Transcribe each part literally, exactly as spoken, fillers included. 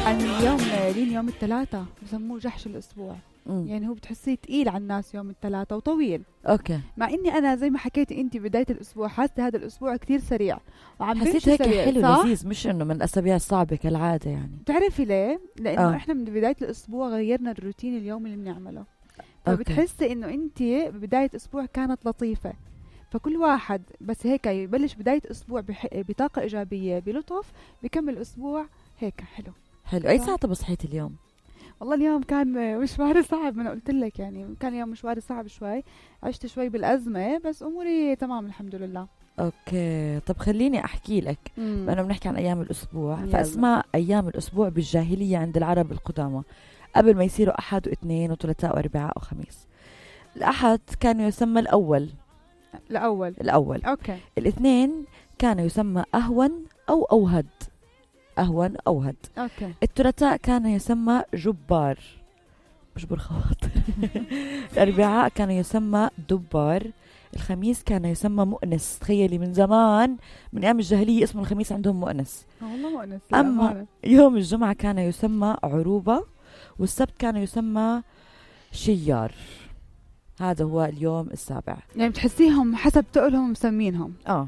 عن اليوم لين يوم الثلاثاء بسموه جحش الأسبوع. مم. يعني هو بتحسيه تقيل على الناس يوم الثلاثاء وطويل. اوكي. مع اني انا زي ما حكيتي انت بدايه الاسبوع حاسه هذا الاسبوع كتير سريع وعم حسيت هيك حلو لذيذ، مش انه من الاسابيع الصعبه كالعاده. يعني بتعرفي ليه؟ لانه آه. احنا من بدايه الاسبوع غيرنا الروتين اليومي اللي بنعمله، فبتحسي انه انت بدايه اسبوع كانت لطيفه، فكل واحد بس هيك يبلش بدايه اسبوع بح... بطاقه ايجابيه بلطف، بكمل اسبوع هيك حلو حلو. اي ساعه بصحيت اليوم؟ والله اليوم كان مشواري صعب، ما انا قلت لك يعني كان يوم مشواري صعب شوي، عشت شوي بالازمه بس اموري تمام الحمد لله. اوكي طب خليني احكي لك، انا بنحكي عن ايام الاسبوع. يلا. فاسماء ايام الاسبوع بالجاهليه عند العرب القدامى قبل ما يصيروا احد واثنين وثلاثاء واربعاء وخميس. الاحد كان يسمى الاول الاول الاول اوكي. الاثنين كان يسمى اهون او اوهد أهون أوهد. أوكي. الثلاثاء كان يسمى جبار مجبور خواطر. الأربعاء كان يسمى دبار. الخميس كان يسمى مؤنس. تخيلي من زمان من أيام الجاهلية اسم الخميس عندهم مؤنس. والله مؤنس. أما يوم الجمعة كان يسمى عروبة، والسبت كان يسمى شيار. هذا هو اليوم السابع. يعني بتحسيهم حسب تقولهم مسمينهم. آه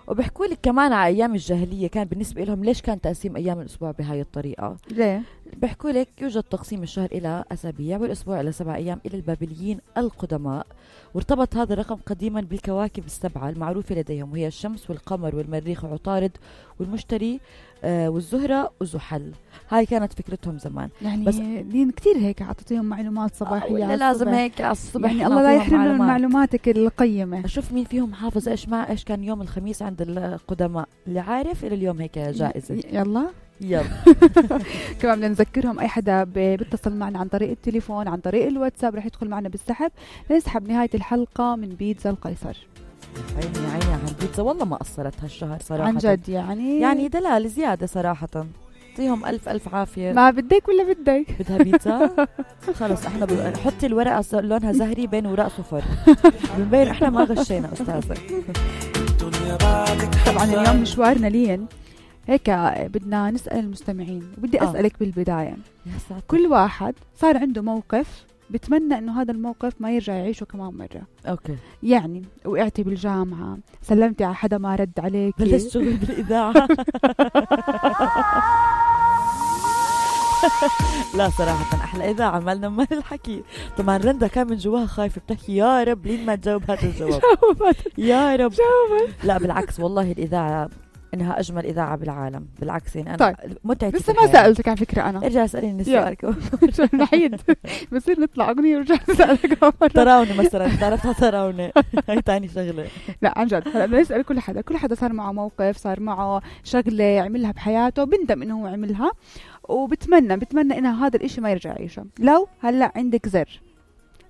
وبحكوا لك كمان على ايام الجاهليه كان بالنسبه لهم ليش كان تقسيم ايام الاسبوع بهاي الطريقه. ليه؟ بحكوا لك يوجد تقسيم الشهر الى اسابيع والاسبوع الى سبع ايام الى البابليين القدماء، وارتبط هذا الرقم قديما بالكواكب السبعه المعروفه لديهم، وهي الشمس والقمر والمريخ وعطارد والمشتري آه والزهره وزحل. هاي كانت فكرتهم زمان. يعني بس دين كتير هيك عطيتيهم معلومات صباحيه. آه لازم هيك على الصبح. يعني الله لا يحرمنا من معلوماتك القيمه. اشوف مين فيهم حافظ ايش مع ايش كان يوم الخميس عند القدماء، اللي عارف الى اليوم هيك جائزه. يلا يلا. كمان بدنا نذكرهم اي حدا بيتصل معنا عن طريق التليفون عن طريق الواتساب رح يدخل معنا بالسحب، نسحب نهايه الحلقه من بيتزا القيصر. عيني عيني عن بيتزا والله ما قصرت هالشهر صراحه عن جد. يعني يعني دلال زياده صراحه. يعطيهم ألف ألف عافية. ما بدك ولا بدك؟ بدها بيتزا؟ خلص احنا ب... حطي الورقة لونها زهري بين وراء صفر. بنبين احنا ما غشينا أستاذة. طبعا اليوم مشوارنا لين هيك بدنا نسأل المستمعين، وبدي أسألك آه. بالبداية كل واحد صار عنده موقف بتمنى انه هذا الموقف ما يرجع يعيشه كمان مرة. اوكي. يعني وقعتي بالجامعة، سلمتي على حدا ما رد عليك، بلشت شغل بالإذاعة. لا صراحة أحلى إذاعة مالنا مال الحكي. طبعا رندا كان من جواها خايفة بتحكي يا رب لين ما تجاوب هذا الجواب. يا رب جاوبت. لا بالعكس والله الإذاعة إنها أجمل إذاعة بالعالم. بالعكس يعني أنا طيب. متعتي لسه ما سألتك على فكرة أنا. ارجع اسأليني سؤالك. نحيد بصير نطلع أغنية ورجع نسألك. تراوني مثلا تعرفها تراوني. هاي تاني شغلة. لا عن جد هلا بدنا نسأل كل حدا. كل حدا صار معه موقف، صار معه شغلة عملها بحياته بندم إنه هو عملها، وبتمنى بتمنى إنه هذا الإشي ما يرجع يعيشه. لو هلا عندك زر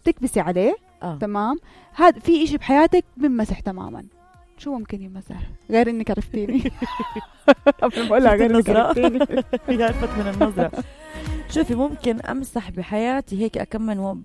تكبسي عليه آه. تمام، هذا في إشي بحياتك بنمسح تماما، شو ممكن يمسح غير انك عرفتيني؟ قبل ما اقولها غير انك عرفتيني. هي عرفت من النظرة. شوفي ممكن امسح بحياتي هيك اكمن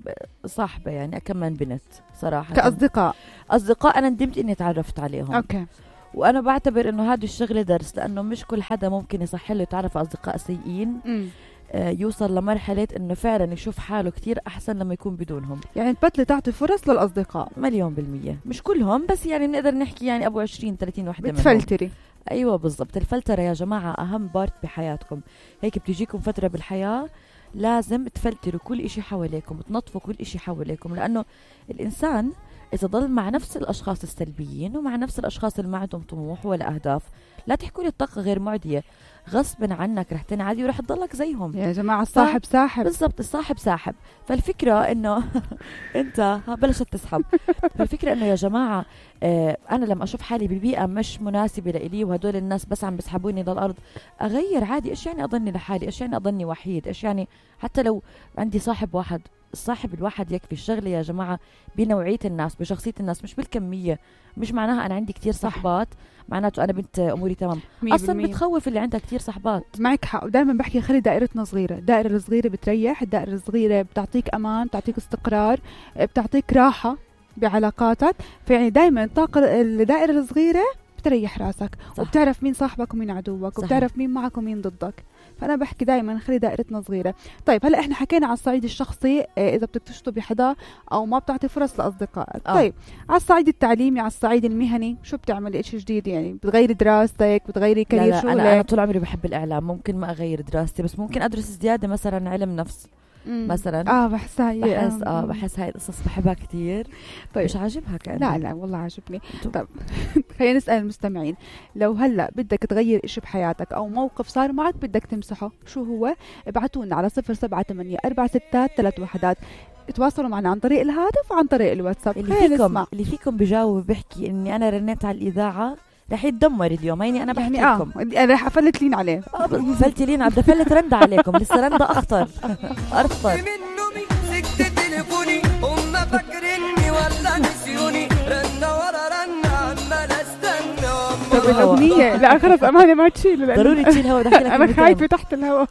صاحبة، يعني اكمن بنت صراحة كأصدقاء. اصدقاء انا ندمت اني تعرفت عليهم. اوكي. وانا بعتبر انه هذه الشغلة درس، لانه مش كل حدا ممكن يصح له يتعرف على اصدقاء سيئين. م. يوصل لمرحلة انه فعلا يشوف حاله كتير احسن لما يكون بدونهم. يعني تبطلي تعطي فرص للاصدقاء. مليون بالمية، مش كلهم بس يعني بنقدر نحكي يعني ابو عشرين ثلاثين وحدة منهم. بتفلتري. ايوه بالضبط. الفلترة يا جماعة اهم بارت بحياتكم. هيك بتجيكم فترة بالحياة لازم تفلتروا كل اشي حواليكم، تنظفوا كل اشي حواليكم، لانه الانسان اذا ضل مع نفس الاشخاص السلبيين ومع نفس الاشخاص اللي ما عندهم طموح ولا اهداف، لا تحكوا لي الطاقة غير معدية، غصبا عنك رح تنعدي ورح تضلك زيهم. يا جماعة الصاحب ف... ساحب. بالضبط الصاحب ساحب. فالفكرة انه انت بلشت تسحب. فالفكرة انه يا جماعة آه انا لما اشوف حالي ببيئة مش مناسبة لإلي وهدول الناس بس عم بسحبوني للارض، اغير عادي. ايش يعني اضلني لحالي؟ ايش يعني اضلني وحيد؟ ايش يعني حتى لو عندي صاحب واحد؟ الصاحب الواحد يكفي. الشغلة يا جماعة بنوعية الناس، بشخصية الناس، مش بالكمية. مش معناها أنا عندي كتير صحبات معناته أنا بنت أموري تمام. أصلا بتخوف اللي عندها كتير صحبات. معك حق. ودائما بحكي خلي دائرتنا صغيرة. الدائرة الصغيرة بتريح، الدائرة الصغيرة بتعطيك أمان، بتعطيك استقرار، بتعطيك راحة بعلاقاتك. فيعني دائما الطاقة الدائرة الصغيرة بتريح راسك. صح. وبتعرف مين صاحبك ومين عدوك. صح. وبتعرف مين معك ومين ضدك. فأنا بحكي دائما خلي دائرتنا صغيرة. طيب هلا احنا حكينا على الصعيد الشخصي إذا بدك تشطبي حدا أو ما بتعطي فرص لأصدقائك. آه. طيب على الصعيد التعليمي، على الصعيد المهني، شو بتعملي إشي جديد؟ يعني بتغيري دراستك، بتغيري لا كارير لا شغلك؟ أنا, أنا طول عمري بحب الإعلام، ممكن ما أغير دراستي بس ممكن أدرس زيادة مثلا علم نفس مم. مثلا. اه بحسها هي بحس اه بحس هاي القصص بحبها كتير. طيب. مش عاجبها كأنه؟ لا لا والله عاجبني. طب. طب خلينا نسأل المستمعين، لو هلا بدك تغير إشي بحياتك أو موقف صار معك بدك تمسحه، شو هو؟ ابعتونا على صفر سبعة ثمانية أربعة ستة ثلاث وحدات. تواصلوا معنا عن طريق الهاتف وعن طريق الواتساب. اللي فيكم اللي فيكم بجاوب بيحكي إني أنا رنيت على الإذاعة رح يتدمر اليوم. هيني أنا بحكي يعني لكم اه انا رح افلت لين عليه. اه فلتي لين عبد فلت رند عليكم، لسه رند أخطر أرفض. هم فاكريني ولا نسيوني، رنة ورا رنة عمال استنى. طب الأغنية لا خلص أمانة ما تشيل، ضروري تشيل هوا. دحكي لك أنا خايفة تحت الهوا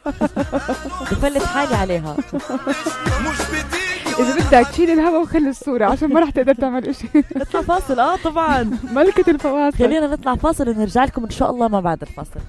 بفلت حالي عليها. إذا بدك تشيل الهوا وخلي الصورة عشان ما رح تقدر تعمل إشي. نطلع فاصل. اه طبعا ملكة الفواصل. خلينا نطلع فاصل ونرجع لكم إن شاء الله ما بعد الفاصل.